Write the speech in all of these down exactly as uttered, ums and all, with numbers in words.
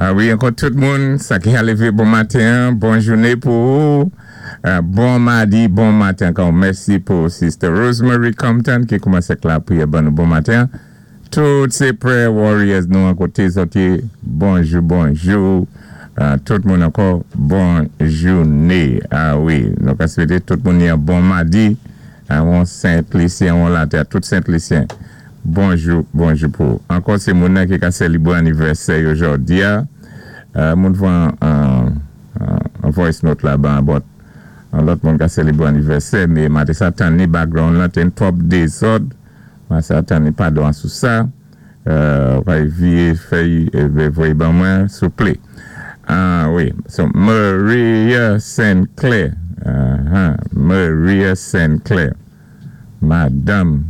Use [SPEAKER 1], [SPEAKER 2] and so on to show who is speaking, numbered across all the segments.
[SPEAKER 1] Ah wi, ankò tout moun, sa ki a lévé bon maten, bon jouné pou ou. Euh, bon madi, bon maten ankò. Mèsi pou Sister Rosemary Compton ki koumansé ak lapriyè ban nou bon maten. Tout sé prayer warriors nou an koté sòti, bonjou, bonjou. Euh, tout moun ankò, bon jouné. Ah wi, nou ka swété tout moun yon bon madi. An Sent Lisyen, an latè, tout Sent Lisyen. Bonjou, bonjou pou. Ankò sé moun nan ki ka sélibwé anivèsè yo jòdi a. Euh, moun voyé an voice note la ban, but an lòt moun ka sélibwé anivèsè, mé maten sa tann ni background la, té twòp dézòd, maten sa tann ni padon sou sa. Euh, wè vyé fèy, voyé ban mwen, souplé. Ah wi, so Maria Saint Clair. Uh-huh. Maria Saint Clair. Madame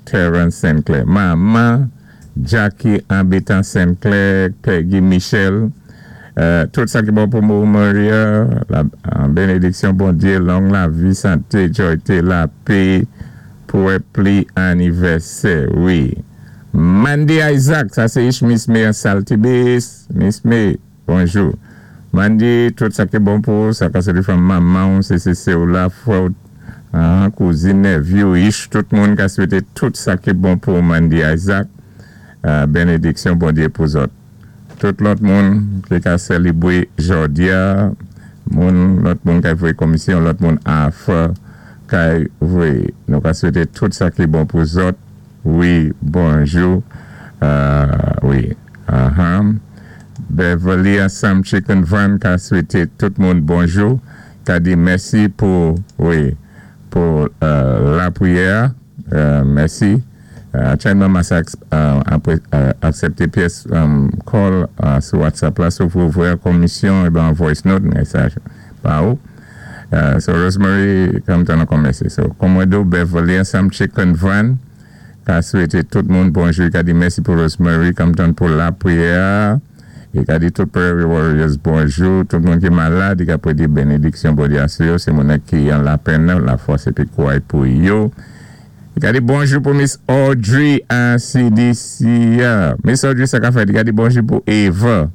[SPEAKER 1] Terence Saint Clair. Maman Jackie Ambitan Saint Clair, Peggy Michel. Euh, tout sa ki bon pou mou Maria, la bénédiksyon Bondyé, long lavi, santé, jwayté, lapè, pou wè pli anivèsè, wi. Mandy Isaac, sa sé ich Miss May an Saltibus. Miss May, bonjou. Mandy, tout sa ki bon pou, sa ka sé fanm manman, sé sé sé ou la, frè, kouzin, nephew, ich, tout moun ka swété tout sa ki bon pou Mandy Isaac. Euh, bénédiksyon Bondyé pou zòt. Tout lòt moun ki ka sélibwé jòdi a, moun, lòt moun ka voyé komisyon, lòt moun afè ka voyé. Nou ka swété tout sa ki bon pou zòt. Wi, bonjou. Euh, wi. Uh-huh. Beverly Sam Chicken Van ka swété tout moun bonjou. Ka di mèsi pou, wi, pou euh, lapriyè. Euh, mèsi. Aktyèlman, mwen aksépté pyès call sou WhatsApp la, sou pou voyé komisyon, é ben voice note, mesaj pa ou. So Rosemary, kòm tan ankò mèsi. So, kòm mwen di ou, Beverly Sam Chicken Van, ka swété tout moun bonjou, ka di mèsi pou Rosemary, kòm tan pou lapriyè, é ka di tout prayer warriors bonjou, tout moun ki malad, ka pou di bénédiksyon Bondyé sou yo, sé moun ki an lapenn, lafòs épi kouway pou yo. Ka di bonjou pou Miss Audrey an C D C. Miss Audrey, sa ka fèt. Ka di bonjou pou Eva,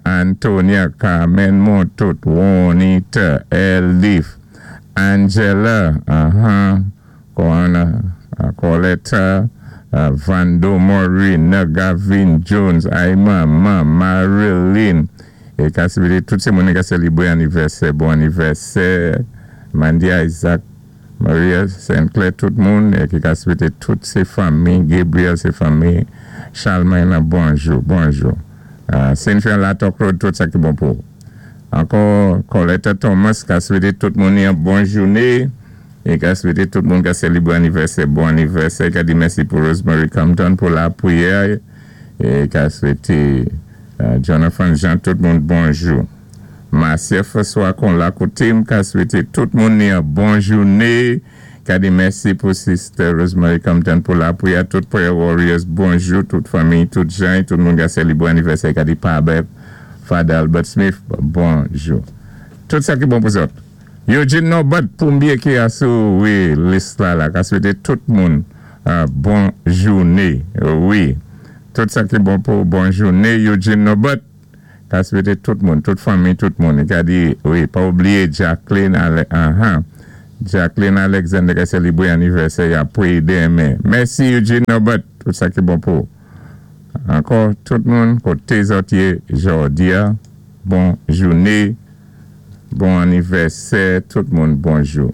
[SPEAKER 1] Antonia, Carmen Montout, Juanita, Elif, Angela, Coletta, Vando Maureen, Gavin Jones, Aima, Ma, Marilyn. E ka sibili tout sé moun ka sélibwé anivèsè, bon anivèsè, Mandy Isaac, Maria Saint Clair, tout moun, e ki ka swété tout sé fanmi, Gabriel sé fanmi, Charlemagne, bonjou, bonjou. Cynthia Latok Road, tout sa ki bon pou. Ankò, Coletta Thomas, ka swété tout moun yon bon jouné, e ka swété tout moun ka sélibwé anivèsè, bon anivèsè, ka di mèsi pou Rosemary Compton pou lapriyè, e ka swété Jonathan Jean, tout moun bonjou. Marcia François kon la koté, m ka swété tout moun yon bon jouné. Ka di mèsi pou Sister Rosemary Compton pou lapriyè, tout prayer warriors, bonjou, tout fanmi, tout jan, tout moun ka sélibwé anivèsè, ka di Pabeb, Father Albert Smith, bonjou. Tout sa ki bon pou zòt. Eugene Norbert Poumbie ki a sou, wi, lis la la, ka swété tout moun bon jouné, wi. Tout sa ki bon pou bon jouné, Eugene Norbert, ka swété tout moun, tout fanmi, tout moun. Ka di, wi, pa oubliyé Jacqueline, aha, Jacqueline Alexander ka sélibwé anivèsè ya pou démen. Mèsi Eugene Norbert, tout sa ki bon pou. Ankò, tout moun, koté zòt yé jòdi a, bon jouné, bon anivèsè, tout moun bonjou.